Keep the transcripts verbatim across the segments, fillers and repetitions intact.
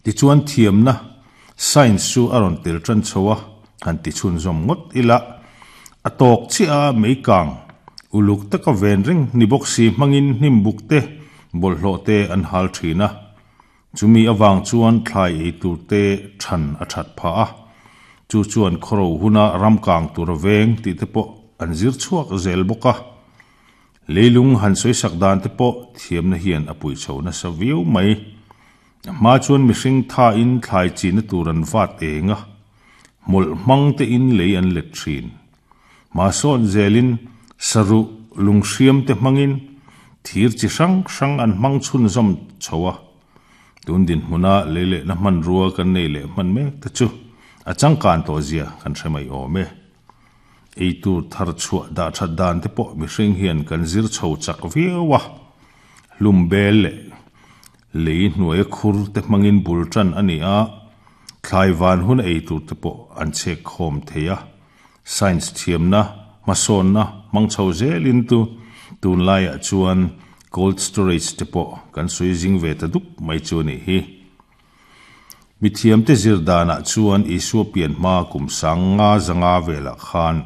Tichuan thiamna science chu a rawn tel tan chho a, han ti chhunzawm ngawt ila. A tawk chiah a meikang uluk taka ven reng ni bawk si hmangin hnim buk te bawlhhlawh te an hal thin a. Chumi avang chuan thlai ei tur te than a that phah a. Chu chuan khawro huna ram kang tur a veng tih te pawh an zir chhuak zel bawk a. Leilung han sawisak dan te pawh thiamna hian a pui chho nasa viau mai. A hma chuan mihring thain thlai china tur an vat eng a. Hmawlh hmang te in lei an let thin. Mahsawn zelin saruh lunghriam te hmangin thir chi hrang hrang an hmang chhunzawm chho a. Tun dinhmuna lei lehna hmanrua kan nei leh hman mek te chu a changkan tawh zia kan hre mai awm e. Ei tur thar chhuah dah that dan te pawh mihring hian kan zir chho chak viau a. Hlum bel leh lei hnuai khur te hmangin bul tan a ni a. Thlai van hun ei tur te pawh an chhek khawm thei a. Science thiamna hmasawnna hmang chho zelin tu tunlaiah chuan cold storage te pawh kan sawi zing ve ta dup mai chu a nih hi. Mithiam te zir danah chuan Isua pian hma kum sanga zanga velah khan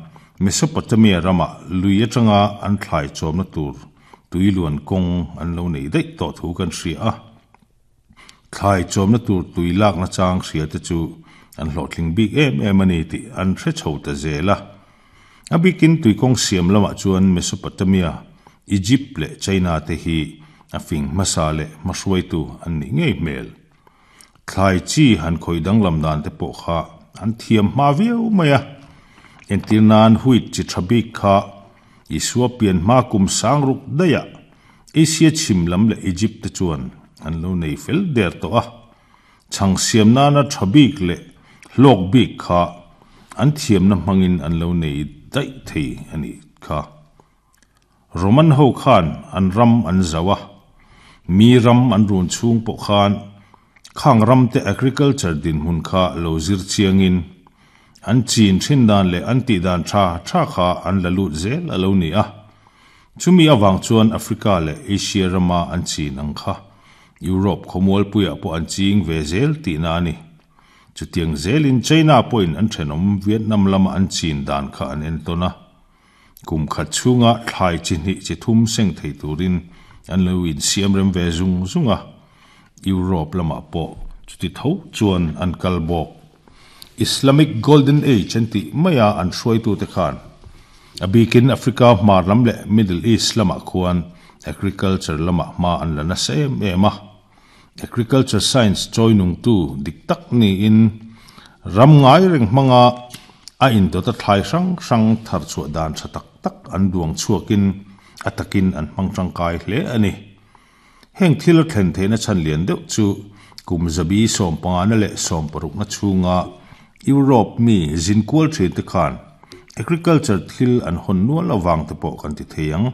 Mesopotamia rama lui atanga an thlai chawmna tur tuiluan kawng an lo nei daih tawh thu kan hria a. Thlai chawmna tur tui lakna chang hria te chu an hlawhtling bik em em a ni tih an hre chho ta zel a. A bikin tuikawng siam lamah chuan Mesopotamia, Egypt leh China te hi a fing hmasa leh hmahruaitu an nih ngei hmel. Thlai chi han khawi danglam dan te pawh kha an thiam hma viau mai a. Entir nan wheat chi tha bik kha Isua pian hma kum sang ruk daih Asia chhim lam leh Egypt te chuan an lo nei fel der tawh a. Chhang siam nana tha bik leh hlawk bik kha an thiamna hmangin an lo nei daih thei a nih kha. Roman ho khan an ram an zo a. Mi ram an run chhung pawh khan khang ram te agriculture dinhmun kha lo zir chiangin an chin thin dan leh an tih dan tha tha kha an la lut zel a lo ni a. Chumi awang chuan Africa leh Asia rama an chin ang kha Europe khawmual puiah pawh an ching ve zel tihna a ni. Chutiang zelin China pawhin an thenawm Vietnam lama an chin dan kha an entawn a. Kum khat chhunga thlai chi hnih chi thum seng thei turin an lo insiam rem ve zung zung a. Europe lamah pawh chuti tho chuan an kal bawk. Islamic Golden Age an tih maia an hruaitu te khan a bikin Africa hmar lam leh Middle East lamah khuan agriculture lamah hma an la nasa em em a. Agriculture science chawi nungtu dik tak niin ram ngai reng hmanga a indawt a thlai hrang hrang thar chhuah dan tha tak tak an duang chhuakin a takin an hmang tangkai hle a ni. Heng thil a thlen theihna chhan lian deuh chu kum zabi sawm pangana leh sawm parukna chhunga Europe mi zinkual thin te khan agriculture thil an hawn nual awang te pawh kan ti thei ang.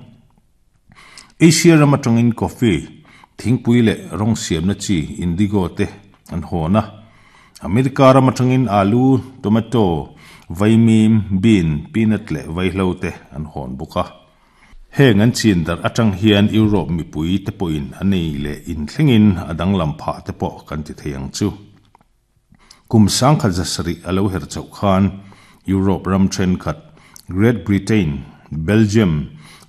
Asia ram atangin coffee thingpui leh rawng siamna chi indigo te an hawn a. America ram atangin alu, tomato, vaimim, bean, peanut leh vaihlo te an hawn bawk a. Heng an chin dar atang hian Europe mipui te pawhin an nei leh inthlengin a danglam phah te pawh kan ti thei ang chu. Kum sangkhat zasarih a lo her chauh khan Europe ram thenkhat Great Britain, Belgium,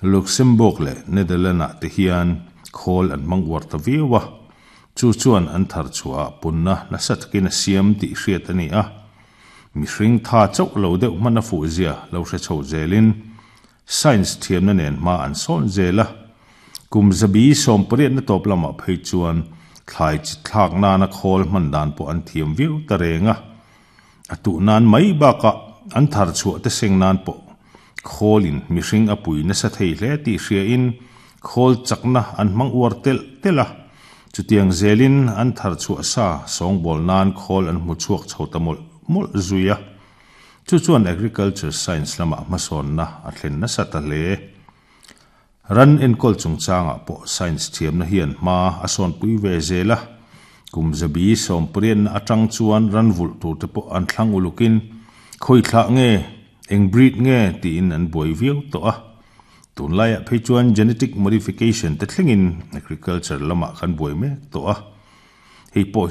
Luxembourg leh Netherlands ah te hian khawl an hmang uar ta viau a. Chu chuan an thar chhuah punna nasa takin a siam tih hriat a ni a. Mihring tha chauh lo deuh hman a fuh zia lo hre chho zelin science thiamna nen hma an sawn zel a. Kum zabi sawm pariatna tawp lamah phei chuan thlai chi thlak nana khawl hman dan pawh an thiam viau ta reng a. A tuh nan mai bakah an thar chhuah te seng nan pawh khawlin mihring a pui nasa thei hle tih hriain khawl chakna an hmang uar tel tel a. Chutiang zelin an thar chhuah sa sawngbawl nan khawl an hmu chhuak chho ta mawlh mawlh zui a. Chu chuan agriculture science lamah hmasawnna a thlen nasa ta hle. Ran enkawl chungchangah pawh science thiamna hian hma a sawnpui ve zel a. Kum zabi sawm pariatna atang chuan ran vulh tur te pawh an thlang ulukin khawi thlah nge eng breed nge tiin an buai viau tawh a. Tunlaiah phei chuan genetic modification te thlengin agriculture lamah kan buai mek tawh a. Hei pawh hi